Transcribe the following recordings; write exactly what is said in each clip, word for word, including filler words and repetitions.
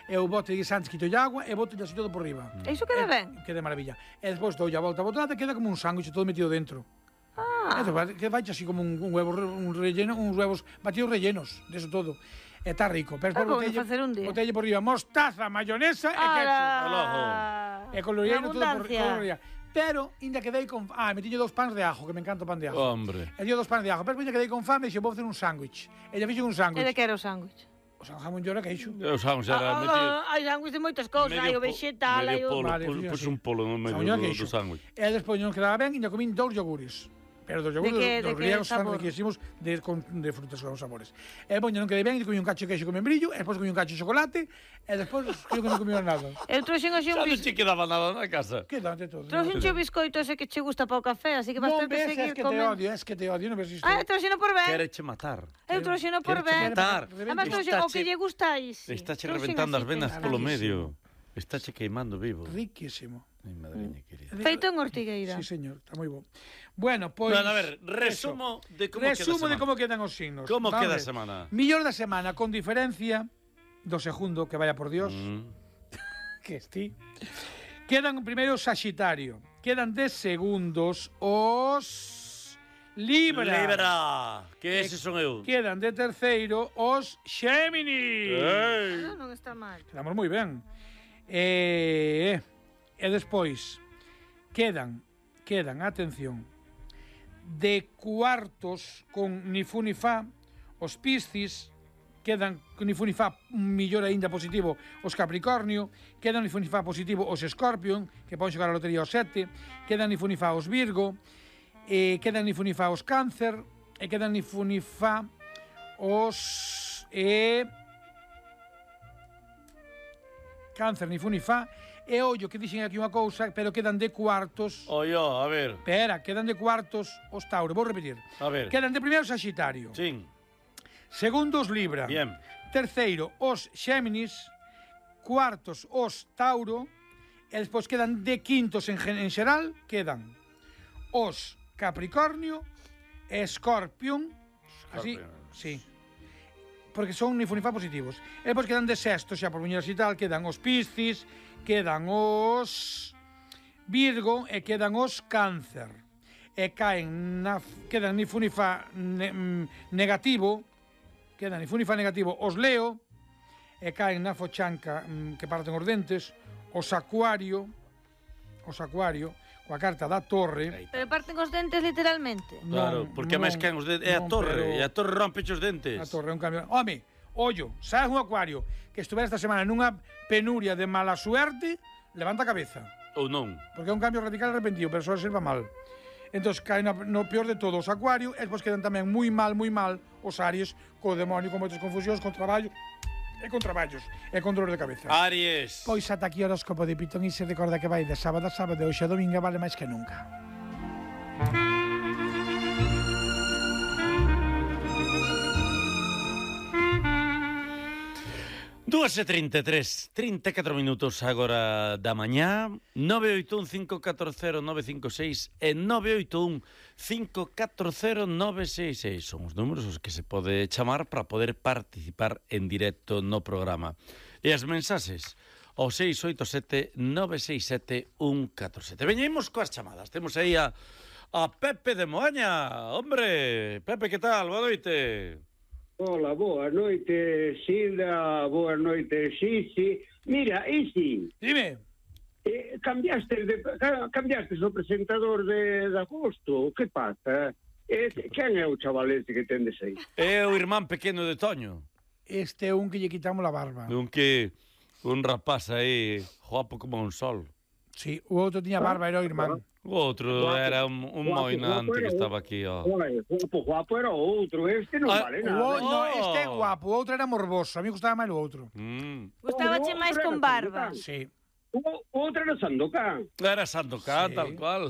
e o bote de guisantes quito agua e boto así todo por riba. E iso queda ben? Queda maravilla. E despois dou a volta a botada e queda como un sándwich todo metido dentro. Ah. E que vai así como un, un huevo un relleno, uns huevos batidos rellenos, de eso todo. E está rico. Pero ah, botelle, facer un día. Botelle por riba mostaza, mayonesa e ketchup. E coloriano todo por riba. Pero, ainda quedei con... Ah, metiño dous pans de ajo, que me encanta o pan de ajo. Hombre. E dio dous pans de ajo. Pero ainda quedei con fame e xe vou facer un sándwich. E lle fixo un sándwich. E de que era o sándwich? O sea, jamón llora queixo. O sándwich era ah, metido... Hai sándwich de moitas cousas, hai o vegetal, hai o... Vale, pois un polo no medio do, do sándwich. E despois non quedaba ben, ainda comín dous yogures. Pero dos yogures, que, dos griegos están riquísimos de, con, de frutas con sabores. E poño non quedei ben, e comí un cacho de queixo con membrillo, e despois comí un cacho de chocolate, e despois creo que non comí nada. Eu trouxen así un biscoito. Xa non che quedaba nada na casa. Queda de todo. Trouxen un biscoito ese que che gusta para o café, así que vas ter que seguir comendo. Non ves, es que te odio, es que te odio, non ves isto. Ah, trouxeno por ben. Quereche matar. Eu trouxeno por ben. matar. Además trouxen o que lle gusta aí. Está che reventando as venas polo medio. Está che queimando vivo. Riquísimo. Mi madriña querida. Feito en Ortigueira. Sí, señor, está moi bo. Bueno, pois... Bueno, a ver, resumo eso. de como resumo queda a semana. de como quedan os signos. Como vale. queda a semana? Millor da semana, con diferencia do segundo, que vaya por Dios, mm. que esti. Quedan primeiro Saxitario. Quedan de segundos os... Libra. Libra. Que eses son eu. Quedan de terceiro os Xéminis. Ah, non está mal. Quedamos moi ben. E... E despois quedan, quedan, atención, de cuartos con ni fu ni fa, os Piscis, quedan con ni fu ni fa millor aínda positivo os Capricornio, quedan ni fu ni fa positivo os Escorpión, que poden xogar a lotería os sete, quedan ni fu ni fa os Virgo, e quedan ni fu ni fa os Cáncer, e quedan ni fu ni fa os... E... Cáncer, ni fu ni fa. E ollo, que dixen aquí unha cousa, pero quedan de cuartos... Ollo, a ver. Espera, quedan de cuartos os Tauro. Vou repetir. A ver. Quedan de primeiro Saxitario. Sí. Segundo os Libra. Bien. Terceiro os Xéminis. Cuartos os Tauro. E despois quedan de quintos en, en xeral, quedan os Capricornio, Escorpión. Así, sí. Porque son ni fu ni fa positivos. E depois quedan de sexto, xa por viñeras e tal, quedan os Piscis, quedan os Virgo e quedan os Cáncer. E caen na, quedan ni fu ni fa ne, negativo, quedan ni fu ni fa negativo os Leo, e caen na fochanca que parten os dentes, os Acuario, os Acuario, coa carta da Torre. Pero parten os dentes literalmente. Claro, non, porque non, máis caen os dentes, é a Torre, e a Torre rompe os dentes. A Torre é un cambio. Home, ollo, sabes un Acuario que estuvera esta semana nunha penuria de mala suerte, levanta a cabeza. Ou non. Porque é un cambio radical e repentino, pero só serva mal. Entón, caen no peor de todos os Acuario, e despois quedan tamén moi mal, moi mal os Aries, co demonio, con moitas confusións, con traballo, e con traballos, e con dolor de cabeza. Aries. Pois ata aquí o horóscopo de Pitón, e se recorda que vai de sábado a sábado, e hoxe a domingo vale máis que nunca. dúas e trinta e tres, trinta e catro minutos agora da mañá. Nove oito un cinco catro cero nove cinco seis e nove oito un cinco catro cero nove seis seis son os números os que se pode chamar para poder participar en directo no programa. E as mensaxes ao seis oito sete nove seis sete un catro sete. Veñemos coas chamadas. Temos aí a, a Pepe de Moaña. Hombre, Pepe, que tal? Boa noite. Hola, boa noite, Silda, boa noite, Xixi. Mira, Isi. Dime. Eh, cambiaste de, cambiaste o presentador de, de agosto. Que pasa? Eh, quen é o chaval ese que tendes aí? É o irmán pequeno de Toño. Este é un que lle quitamos a barba. Un que... Un rapaz aí, guapo como un sol. Sí, o outro tiña barba, era o irmán. O outro guapo, era un, un moinante que estaba aquí, ó. Guapo, guapo era o outro, este non ah, vale nada. O, no, este é guapo, o outro era morboso, a mí gustaba máis o outro. Mm. Gustabache máis con barba. Sí. O outro era Sandokan. Era Sandokan, sí. Tal cual.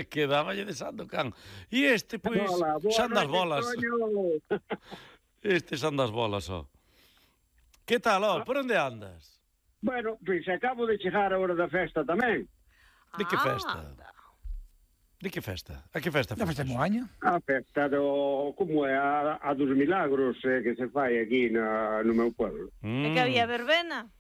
Quedáballe de Sandokan. E este, pois, pues, xan das bolas. Este xan das bolas, ó. Que tal, ó? Por onde andas? Bueno, pois acabo de chegar a hora da festa tamén. De que festa? Ah, de que festa? A que festa? A festa de Moaña. A festa do... como é a, a dos milagros eh, que se fai aquí na, no meu pueblo. Mm. É que había verbena?